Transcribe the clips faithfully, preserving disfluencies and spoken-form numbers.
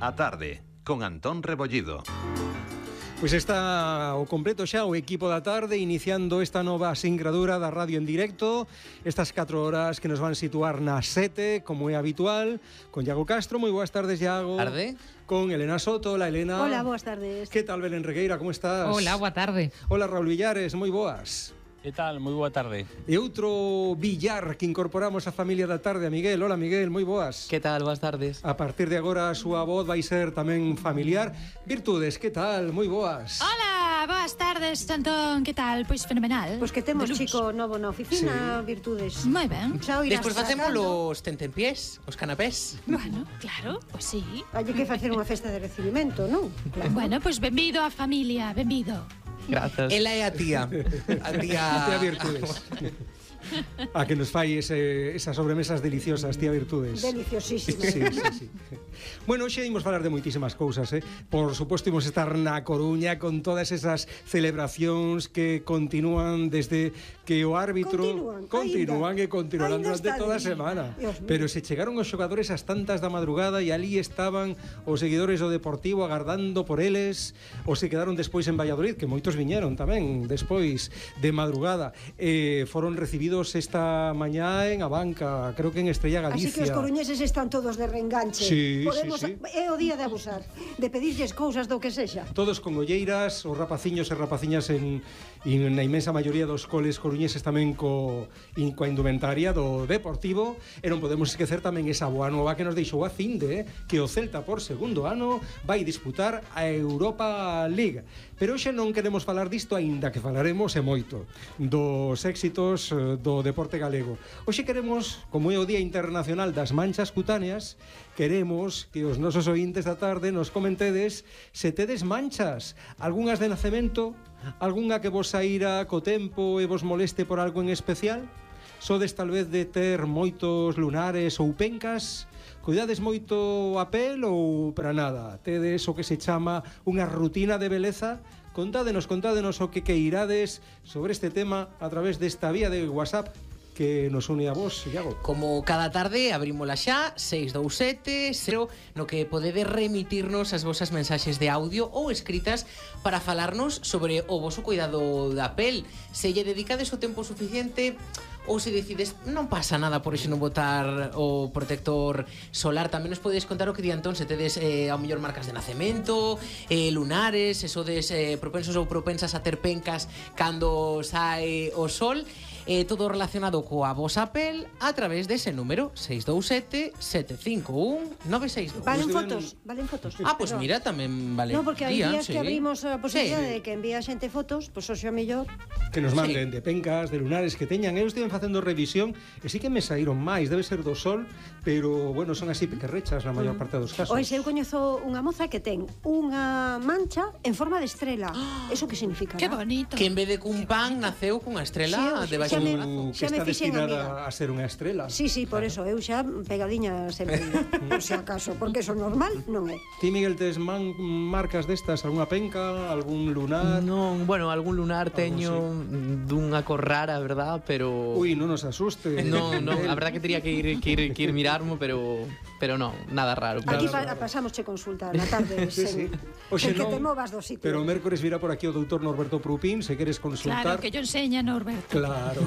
A tarde, con Antón Rebollido. Pois está o completo xa o equipo da tarde iniciando esta nova singradura da radio en directo, estas catro horas que nos van situar nas sete, como é habitual, con Iago Castro. Moi boas tardes, Iago. Tarde. Con Elena Soto. Hola, Elena. Hola, boas tardes. Que tal, Belén Regueira, como estás? Hola, boa tarde. Hola, Raúl Villares, moi boas. Que tal? Moi boa tarde. E outro Villar que incorporamos á familia da tarde, a Miguel. Hola, Miguel, moi boas. Que tal? Boas tardes. A partir de agora a súa voz vai ser tamén familiar. Virtudes, que tal? Moi boas. Hola, boas tardes, Antón. Que tal? Pois fenomenal. Pois que temos chico novo na oficina, sí. Virtudes. Moi ben. Xa o irás Despois facemos sacando. os tentempiés, os canapés. Bueno, claro, pois sí. Hai que facer unha festa de recibimento, non? Claro. Bueno, pois benvido á familia, benvido. Grazas. Ela é a tía. A tía... A tía Virtudes. A que nos fai ese, esas sobremesas deliciosas, tía Virtudes. Deliciosísimas. Sí, sí, sí. Bueno, hoxe imos falar de moitísimas cousas, eh? Por suposto, imos estar na Coruña con todas esas celebracións que continúan desde que o árbitro Continúan, continúan ainda, e continuarán ainda durante toda a ali. semana. Dios mío. Pero se chegaron os xogadores ás tantas da madrugada e ali estaban os seguidores do Deportivo agardando por eles, ou se quedaron despois en Valladolid, que moitos viñeron tamén despois de madrugada. Eh, foron recibidos esta mañá en a banca, creo que en Estrella Galicia. Así que os coruñeses están todos de reenganche. Sí, Podemos, sí, sí. É o día de abusar, de pedirlles cousas do que sexa. Todos con olleiras, os rapaciños e rapaciñas en, en na inmensa maioría dos coles coruñeses tamén co, in, coa indumentaria do Deportivo. E non podemos esquecer tamén esa boa nova que nos deixou a Cinde, eh, que o Celta por segundo ano vai disputar a Europa League. Pero hoxe non queremos falar disto, aínda que falaremos e moito dos éxitos do deporte galego. Hoxe queremos, como é o Día Internacional das Manchas Cutáneas, queremos que os nosos ointes da tarde nos comentedes se tedes manchas, algunhas de nacemento, algunha que vos saíra co tempo e vos moleste por algo en especial? Sodes tal vez de ter moitos lunares ou pencas? Cuidades moito a pel ou para nada? Tedes o que se chama unha rutina de beleza? Contádenos, contádenos o que queirades sobre este tema a través desta vía de WhatsApp que nos une a vos, Iago. Como cada tarde, abrímola xa, seis dous sete cero, no que podedes remitirnos as vosas mensaxes de audio ou escritas para falarnos sobre o voso cuidado da pel. Se lle dedicades o tempo suficiente ou se decides non pasa nada por iso non botar o protector solar. Tamén nos podedes contar o que di Antón, se tedes eh, ao mellor marcas de nacemento, eh, lunares, se sodes eh, propensos ou propensas a ter pencas cando sae o sol. Eh, todo relacionado coa vosa pel a través dese número seis dous sete sete cinco un nove seis dous. Valen fotos, valen fotos. Ah, pois pues mira, tamén vale. No, porque hai días sí. que abrimos a posibilidade sí. de que envía xente fotos, pois pues, hoxe o mellor que nos manden sí. de pencas, de lunares que teñan. Eu estive facendo revisión e sí que me saíron máis, debe ser do sol, pero bueno, son así pequerrechas na maior parte dos casos. Ois, eu coñezo unha moza que ten unha mancha en forma de estrela. Eso que significa? Que bonito. Que en vez de cun pan naceu cunha estrela Sí, debaixo xa do me- brazo. Que xa me está fixen destinada amiga. a ser unha estrela. Sí, sí, por eso, eu xa pegadiña sempre, por si acaso, porque eso normal non é. Ti, Miguel, tes man, marcas destas, algunha penca, algún lunar? Non, bueno, algún lunar teño sí. dunha cor rara, verdad, pero Ui, non nos asuste. non, non, a verdad que tería que ir que ir que ir mirarmo, pero pero non, nada raro. Aquí Nada, pa, pasamos che consulta na tarde, Sí, sen, sí. Oxe, sen que non, te movas do sitio. pero o mércores virá por aquí o doutor Norberto Prupín, se queres consultar. Claro, que yo enseña, Norberto. Claro.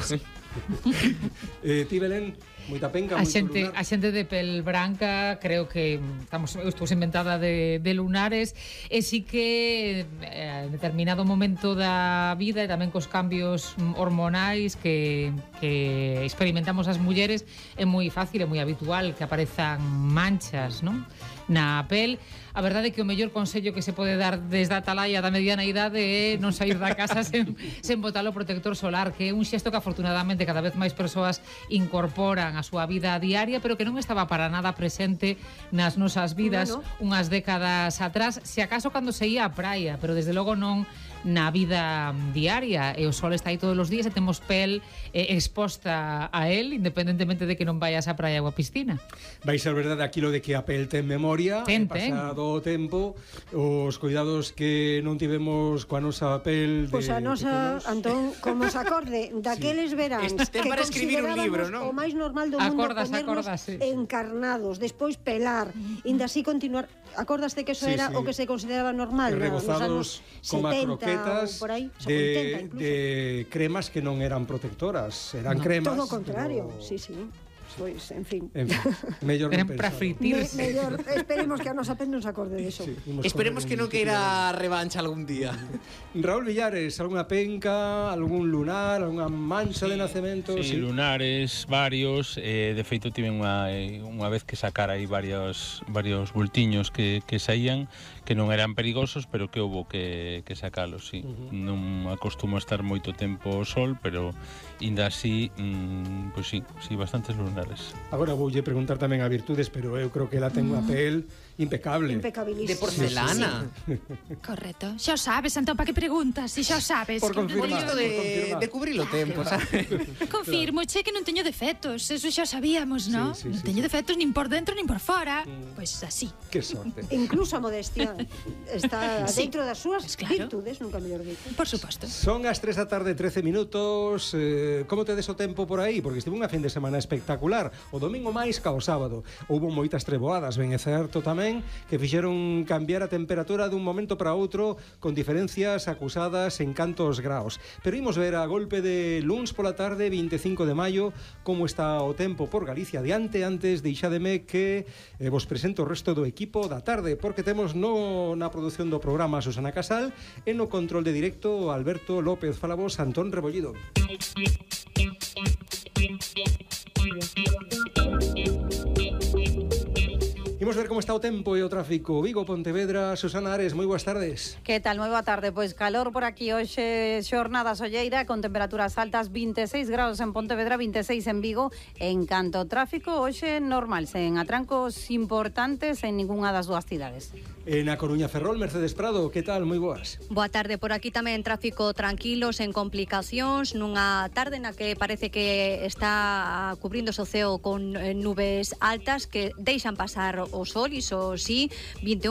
eh, ti, Belén, moita penca, A moito xente, lunar. a xente de pel branca creo que estamos, eu estou inventada de, de lunares e sí que eh, en determinado momento da vida e tamén cos cambios hormonais que, que experimentamos as mulleres é moi fácil e moi habitual que aparezan manchas, non? Na pel. A verdade é que o mellor consello que se pode dar desde a atalaya da mediana idade é non sair da casa sen, sen botar o protector solar, que é un xesto que afortunadamente cada vez máis persoas incorporan a súa vida diaria, pero que non estaba para nada presente nas nosas vidas Bueno. unhas décadas atrás, se acaso cando se ia á praia, pero desde logo non na vida diaria, e o sol está aí todos os días e temos pel eh, exposta a él, independentemente de que non vayas á praia ou á piscina. Vai ser verdade aquilo de que a pel ten memoria, Ten, e ten. pasado o tempo, os cuidados que non tivemos coa nosa pel de Pois a nosa, pequenos. Antón, como se acorde daqueles veráns Este que para escribir un libro, considerábamos non? o máis normal do mundo, Acordas, poñernos acordas, sí. encarnados, despois pelar, inda así continuar. Acordaste que eso Sí, era sí. o que se consideraba normal? E no, nos rebozados anos como a setenta croquetas ou por aí, xa de, oitenta incluso. de cremas que non eran protectoras, eran cremas. Todo o contrario, pero- sí, sí. Pois, en fin. En fin, mellor non Eran para pensalo. Me, fritirse. mellor, esperemos que a nosa pen non se acorde deso. Sí, imos Esperemos correr que non un queira revancha algún día. Raúl Villares, algunha penca, algún lunar, algunha mancha de nacemento? Sí, lunares, varios, eh, de feito tiven unha, eh, unha vez que sacar aí varios, varios bultiños que, que saían, que non eran perigosos, pero que houbo que, que sacalos, sí. Uh -huh. Non acostumo a estar moito tempo ao sol, pero inda así, mm, pois sí, sí, bastantes lunares. Agora voulle preguntar tamén a Virtudes, pero eu creo que ela ten unha pel impecable. Impecabilísimo. De porcelana. Correcto. Xa o sabes, Antón, para que preguntas? Si xa o sabes. Por que non confirmar. Bonito teño- de, Por confirmar. de cubrir o tempo, sabes? Confirmo, che, que non teño defectos. Eso xa o sabíamos, non? Sí, sí, non sí, teño sí. defectos nin por dentro nin por fora. Pois pues así. Que sorte. Incluso a modestia está Sí. dentro das súas Pues claro. virtudes, nunca mellor dito. Por suposto. Son as tres da tarde, trece minutos. eh, Como tedes o tempo por aí? Porque estive unha fin de semana espectacular. O domingo máis ca o sábado. Houbo moitas treboadas, ben é certo tamén, que fixeron cambiar a temperatura dun momento para outro con diferencias acusadas en cantos graos. Pero imos ver a golpe de luns pola tarde, vinte e cinco de maio, como está o tempo por Galicia. Diante, antes, deixádeme que eh, vos presento o resto do equipo da tarde, porque temos no, na produción do programa Susana Casal e no control de directo Alberto López. Fala vos, Antón Rebollido. Imos ver como está o tempo e o tráfico. Vigo, Pontevedra, Susana Ares, moi boas tardes. Que tal? Moi boa tarde. Pois calor por aquí hoxe, xornada solleira con temperaturas altas, vinte e seis graus en Pontevedra, vinte e seis en Vigo. En canto ao tráfico, hoxe normal, sen atrancos importantes en ningunha das dúas cidades. En A Coruña, Ferrol, Mercedes Prado, que tal? Moi boas. Boa tarde, por aquí tamén tráfico tranquilo, sen complicacións, nunha tarde na que parece que está cubrindo o ceo con eh, nubes altas que deixan pasar o sol, iso sí, vinte e un